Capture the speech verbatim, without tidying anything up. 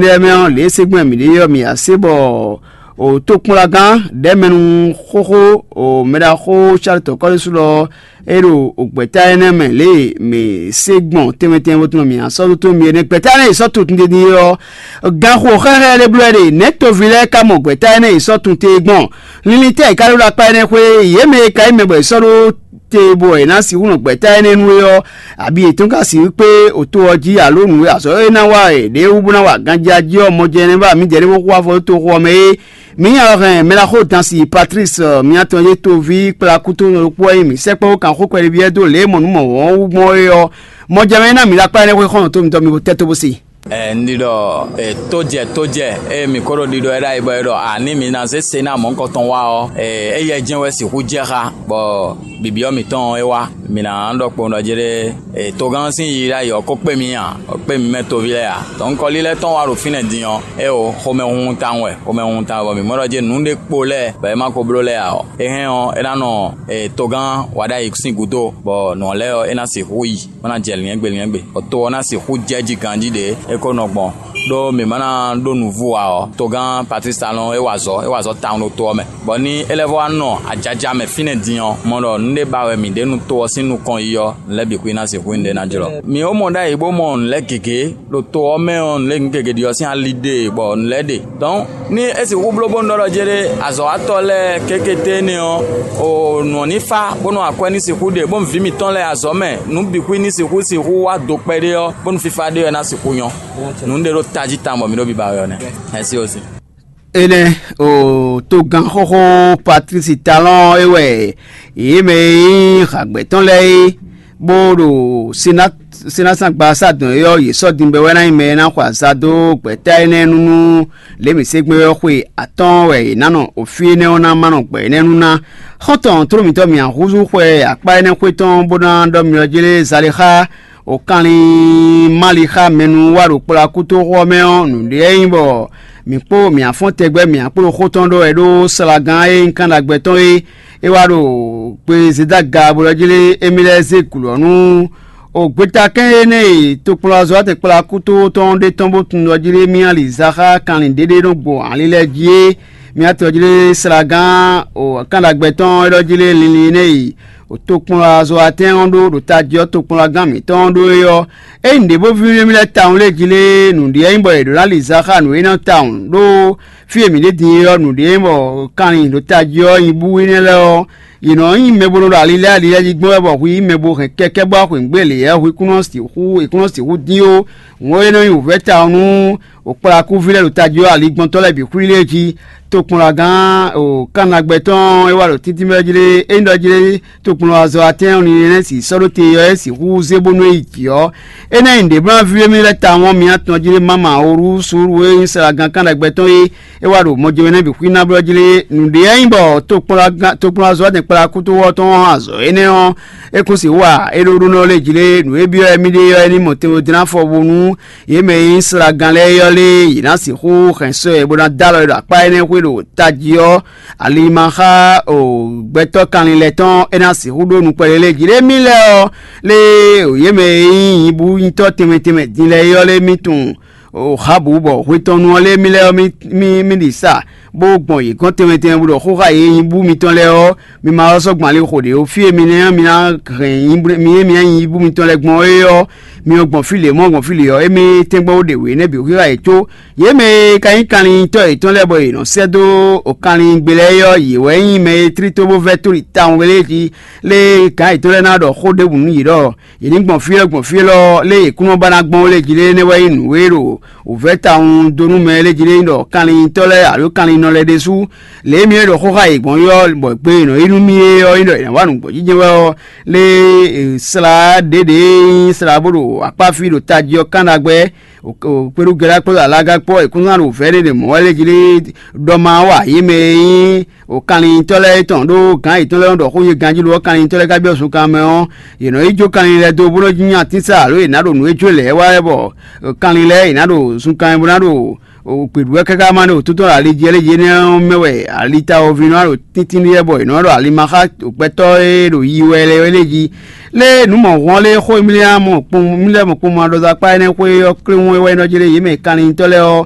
Énɛ́ mɛ ɔ́, lě e é se gbɔn mǐ ɖe ɔ́, mǐ ya se bɔ o tokpɔnlagán ɖɛ̌mɛnu xóxó o mɛɖaxó Charles Tɔkɔ́lísu lɔ é ɖo gbɛ̌ta énɛ́ mɛ lě e mǐ se gbɔn tɛnmɛ tɛnmɛ bó tunwun mǐ ná sɔ́ dó tó mi é nɛ́. Gbɛ̌ta énɛ́ e sɔ́ tunwun tititi ɔ́, ganxo xɛxɛ ɖé bló wɛ ɖe. Nɛ̌ toví lɛ́ɛ ka mɔ gbɛ̌ta énɛ́ e sɔ́ tunwun te gbɔn? Linlin tɛ́ è ka ɖó ɖo akpá énɛ́ xwé? Yě mɛ e ka nyí mɛ bɔ è sɔ́ ɖó te bɔ è nǎ sixú nɔ gbɛ̌ta énɛ́ nú é ɔ́, abi yětɔn ka sixú kpé oto ɔ́ jí, alo nǔ e azɔ̌ e ná wa è ɖě wú bó ná wa ganjí jí ɔ́, mɔjɛnɛ́ ba mǐdɛɛ ɖé bó xú afɔ dó toxo ɔ́ mɛ é. Mǐ nya lɔ hɛn mɛɖaxó dansi Patlísi, mǐ atɔn e toví kplá kútó ɖokpó wɛ nyí mǐ sɛkpɔ́ bó kan xó kpɛɖéví lɛ́ɛ dó lě e mɔ nǔ mɔ wɔ̌n wú gbɔn é ɔ́, mɔjɛmɛ ná mǐ ɖo akpá énɛ́ xwé xɔ́nɔ tó mitɔn mi bo tɛ́ tó bó se. Ɛ, un ɖi ɖɔ e, tójɛ tójɛ e mǐ ko ɖo ɖiɖɔ ɛ ɖ'ayǐ bɔ é ɖɔ a ní mi ná zé se ná mɔ̌hunkɔtɔn wá ɔ́, e, éyɛ́ jɛ́n wɛ sixú jɛ xá, bɔ bibyɔ́ mǐtɔn ɔ́ é wá. Mi ná ɖɔ kpowun ɖɔ jɛɖɛ́ e, togán sín yiyi ɖ'ayǐ ɔ́ ko kpé mi ǎ, bɔ kpé mi mɛ toví lɛ́ɛ ǎ. Dɔ̌nkɔlí lɛ́ɛ tɔn wá ɖo fínɛ́ din ɔ́, é o xomɛhunhun tawun wɛ, xomɛhunhun tawun wɛ, bɔ mǐ mɔ ɖɔ jɛ́n nǔ ɖé kpo lɛ́ɛ bɔ é ma ko bló lɛ́ɛ ǎ ɔ́, é hɛn ɔ́, é ná nɔ e, togán wa ɖ'ayǐ sín gǔdo, bɔ nǔ ɔ́ lɛ́ɛ ɔ́ é ná sixú yi. Bó ná jɛ lyɛ̌ngbé lyɛ̌ngbé, bɔ to ɔ́ ná sixú jɛ jí ganjí ɖě é ko nɔ gbɔn, ɖó mǐ ma ná ɖó nǔvú ǎ ɔ́, togán Patlísi Talɔn é wa azɔ̌, é wa azɔ̌ tawun ɖo to ɔ́ mɛ, bɔ ní é lɛ́ vɔ wá nɔ ajaja mɛ fínɛ́ din ɔ́, mɔ ɖɔ nǔ ɖé ba wɛ mǐ ɖe nú to ɔ́ sín nukɔn yi ɔ́, nǔ lɛ́ɛ bǐ xwí ná sixú nyí ɖé ná jlɔ́. Mǐ ó mɔ ɖ'ayǐ bó mɔ nǔ lɛ́ɛ gěgé ɖo to ɔ́ mɛ ɔ́, nǔ lɛ́ɛ gěgé ɖi ɔ́ sín ali ɖe, bɔ nǔ lɛ́ɛ ɖe. Dɔ̌n ní é sixú bló bónú ɖɔ ɖɔ jɛ́ɖɛ́ azɔ̌watɔ́ lɛ́ɛ kékété énɛ́ ɔ́, o nǔ ɔ́ ní fá, bónú akwɛ́ ní sixú ɖe, bónú vǐ mǐtɔn lɛ́ɛ azɔ̌ mɛ, nǔ bǐ xwí ní sixú sixú wá do kpɛɖé ɔ́, bónú fífá ɖé ɔ́ ná sixú nyɔ́. Nǔ ɖé ɖó tají tawun bɔ mǐ ɖo biba wɛ ɔ́ nɛ́. Mɛ̌si osi. Énɛ́ o togán xóxó Patlísi Talɔ́n é wɛ yě mɛ e nyí hǎgbɛ́ tɔn lɛ́ɛ é, bó ɖo Senásangbasá dɔn é ɔ́, yě sɔ́ din bɔ é wɛ ná nyí mɛ e ná xɔ aza dó gbɛ̌ta énɛ́ nú nú lě mǐ se gbé ɔ́ xwe atɔ́ɔ́n wɛ è nǎ nɔ o fí énɛ́ ɔ́ ná ma nɔ gbɛ énɛ́ nú ná. Xɔ́ntɔn tló mǐtɔn mǐ húzú xwɛ akpá énɛ́ xwé tɔn bó ná ɖɔ myɔ jlé Zalexá o kanlin Malixa mɛnu wá ɖo kplɔ́ akútoxo ɔ́ mɛ ɔ́, nǔɖé ɔ́ nyí bɔ mǐ kpó mǐ afɔ́n tɛgbɛ mǐ akpó ɖo xó tɔn ɖɔ wɛ ɖó slagán e nyí kan ɖagbe tɔn é. É wá ɖo gbe Zedaga bó ɖɔ jlé émí lɛ́ɛ zé gǔ ɔ́ nú o gbetakɛ́n énɛ́ e tokplɔ́nzɔ́watɛn kplɔ́ akúto tɔn ɖé tɔn bó tunwun ɖɔ jlé mì ali za xá kanlin ɖéɖé nɔ gbo ali lɛ́ɛ jí é. Mì atɔ jlé slagán o kan ɖagbe tɔn é ɖɔ jlé linlin énɛ́ e o tokplɔ́nzɔ́watɛn ɔ́ ɖó ɖo tají ɔ́ tokplɔ́ngán mǐtɔn ɔ́ ɖó é ɔ́, ényí ɖě bó víví mì lɛ́ɛ tawun lé jí lé nǔɖé nyí bɔ è ɖǒ ná li za xá nǔ énɛ́ tawun ɖó fí e mǐ ɖe din é ɔ́, nǔɖé bɔ kanlin ɖo tají ɔ́ nyi bú énɛ́ lɛ́ɛ ɔ́, yě nɔ nyí mɛ bo nɔ ɖo ali lɛ́ɛ ali lɛ́ɛ jí gbɔn wɛ bɔ hwi mɛ bo hɛn kɛkɛ́ bɔ xwǐngbé lě ɔ́, hwi kún nɔ sixú è kún nɔ sixú dín ó. Hǔn ɔ́, é nɔ nyí wǔvɛ́ tawun nú wǒkplakúví lɛ́ɛ ɖo tají ɔ́, aligbɔntɔ́ lɛ́ɛ bǐ xwlí lé jí. Tokplɔ́ngán o kánagbɛ tɔn e wá ɖo títínmɛ jí lé, é nyí ɖɔ jí lé tokplɔ́nzɔ́watɛ́n ɔ́, Linɛ́si sɔ́ ɖó te ɔ́, é sixú zé bónú é yi jǐ ɔ́, é ná nyí nǔɖé bó ná víví émí lɛ́ɛ tawun ɔ́, mi ná tunwun jí lé máma Orusu e nyí slagán kan ɖagbe tɔn é, é wá ɖo mɔjɛmɛ nɛ́ bǐ xwí ná blɔ́ jí lé. Nǔɖé ɔ́ nyí bɔ tokplɔ́nzɔ́watɛn kplakútówɔ tɔn ɔ́, azɔ̌ énɛ́ ɔ́, é kún sixú wa é ɖó ɖó nɔ lé jí lé. Nǔ e byɔ́ émí ɖe ɔ́, é ní mɔ tɛnmɛ dó ná fɔ bónú yě mɛ e nyí slagán lɛ́ɛ é ɔ́ lé, yě ná sixú hɛn sɔ́ ɛ bó ná dó alɔ ɛ ɖo akpá énɛ́ xwé ɖo tají ɔ́, ali ma xá o gbɛtɔ́ kanlin lɛ́ɛ tɔn é ná sixú ɖó nukpɛ́ lé lé jí lé mì lɛ́ɛ ɔ́, lé o yě mɛ e nyí nyibúnyitɔ́ tɛnmɛ tɛnmɛ din lɛ́ɛ é ɔ́ lé mì tunwun o xábǔ bɔ hwe tɔn nu ɔ́ lé mì lɛ́ɛ ɔ́ mì mì mì ɖi sa bó gbɔn yě gɔ́n tɛnmɛ tɛnmɛ bó ɖɔ xó xá yě nyibú mitɔn lɛ́ɛ ɔ́, mi ma wá sɔ́ gbɔn ali xo ɖě ó. Fí e mi ná mi ná hɛn nyibú mi e mi ná nyi nyibú mitɔn lɛ́ɛ gbɔn é ɔ́, mi ɔ́ gbɔn fí lě mɔ̌ gbɔn fí lě ɔ́, émí tɛ́ngbɔ́n ó ɖe wě nɛ́ bǐ xwíxá yě có. Yě mɛ e ka nyí kanlintɔ́ yětɔn lɛ́ɛ bɔ yě nɔ sɛ́ dó o kanlin gbe lɛ́ɛ é ɔ́, yě wɛ nyí mɛ e tlí tó bó vɛ́ tóli tawun wɛ lé jí lé gǎn yětɔn lɛ́ɛ ná ɖɔ xó ɖěbǔ nú yě ɖɔ yě ní gbɔn fí élɔ́ gbɔn fí élɔ́ lé yě kún nɔ ba ná gbɔn ó lé jí lé énɛ́ wɛ nyí nǔ e ɖo wǔvɛ́ tawun dó nú mɛ lé jí lé nyí ɖɔ kanlintɔ́ lɛ́ɛ alo kanlinnɔ lɛ́ɛ ɖésú lě e mì e ɖo xó xá yě gbɔn ɔ́, bɔ gbe e nɔ yi nú mì é ɔ́ nyí ɖɔ è nǎ wa nǔgbó jínjɛ́n wɛ ɔ́, lé slá ɖěɖě e nyí slá bó ɖo akpá fí ɖo tají ɔ́ kán ɖagbe, kpéɖú Gɛlá kpódó Alaga kpó è kún ná ɖo vɛ̌ ɖé ɖě mɔ̌ wɛ lé jí lé ɖɔ ma wa yě mɛ e nyí o kanlintɔ́ lɛ́ɛ tɔn ɖó gǎn yětɔn lɛ́ɛ nɔ ɖɔ xó yě ganjí ɖó ɔ́, kanlintɔ́ lɛ́ɛ ka byɔ́ zunkan mɛ ɔ́, yě nɔ yi jó kanlin lɛ́ɛ dó bó nɔ́ jí nyi atínsá alo yě ná ɖo nǔ e jó lɛ̌ɛ wá wɛ bɔ kanlin lɛ́ɛ yě ná ɖo zunkan mɛ bó ná ɖo Gběɖuwɛ káká ma ɖo túntɔ́n ali jí lé jí énɛ́ ɔ́ mɛ wɛ ali ta ɔ́ ví nɔ ɖo tíntín ɖíe bɔ è nɔ ɖo alimaxa gbɛtɔ́ e ɖo yi wɛ lɛ́ɛ lé jí. Lé nǔ mɔ̌hwan lé xó mlíá mɔ kpɔn mlíá mɔ kpɔn ma ɖɔ dó akpá énɛ́ xwé ɔ́ kléwún é wɛ nɔ jí lé yě mɛ kanlintɔ́ lɛ́ɛ ɔ́,